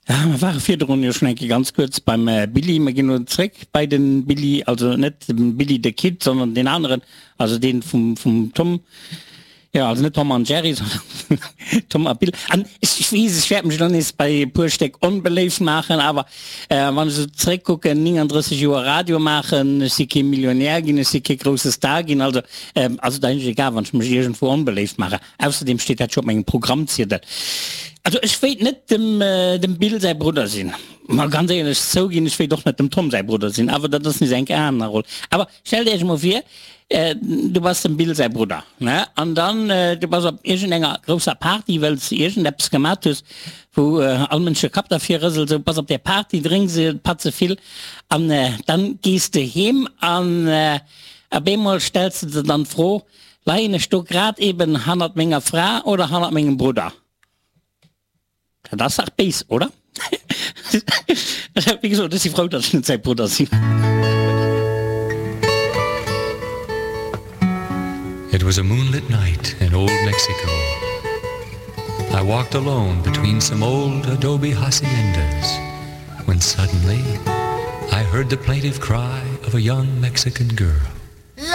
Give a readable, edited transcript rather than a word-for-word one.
Mer ware virdrun jo schonn eng Kéier ganz kuerz beim Billy. Mer ginn elo zréck bei de Billy, also net dem Billy the Kid, sondern deen aneren, also dee vum, vum Tom. Jo, also net Tom an Jerry, sondern Tom a Bill. An ech weess, ech wäert mech elo nees bei e puer Stéck onbeléift maachen, awer wann ech esou zréckkucken, 39 Joer Radio maachen, ech si kee Millionär ginn, ech si kee grousse Star ginn, also ass et eigentlech egal, wann ech mech iergendwou onbeléift maachen. Ausserdeem steet dat jo op mengem Programmziedel. Also ech wéilt net dem dem Bill säi Brudder sinn. Ma ganz éierlech zouginn, ech wéilt och net dem Tom säi Brudder sinn, awer dat ass nees eng aner Roll. Awer stellt Iech emol vir, du bass dem Bill säi Brudder, ne, an dann du bass op iergendenger grousser Party, well s de iergendeppes gemat hues, wou all Mënsch de Kapp derfir rëselt, sou, bass op där Party, drénks e Patze vill an dann gees de heem an op eemol stells de der dann d'Fro, Leien ech do grad eben hannert menger Fra oder hannert mengem Brudder? Dat ass dach béis, oder? Wéi gesot, ech si frou, datt ech net säi Brudder sinn. It was a moonlit night in old Mexico. I walked alone between some old adobe haciendas when suddenly I heard the plaintive cry of a young Mexican girl.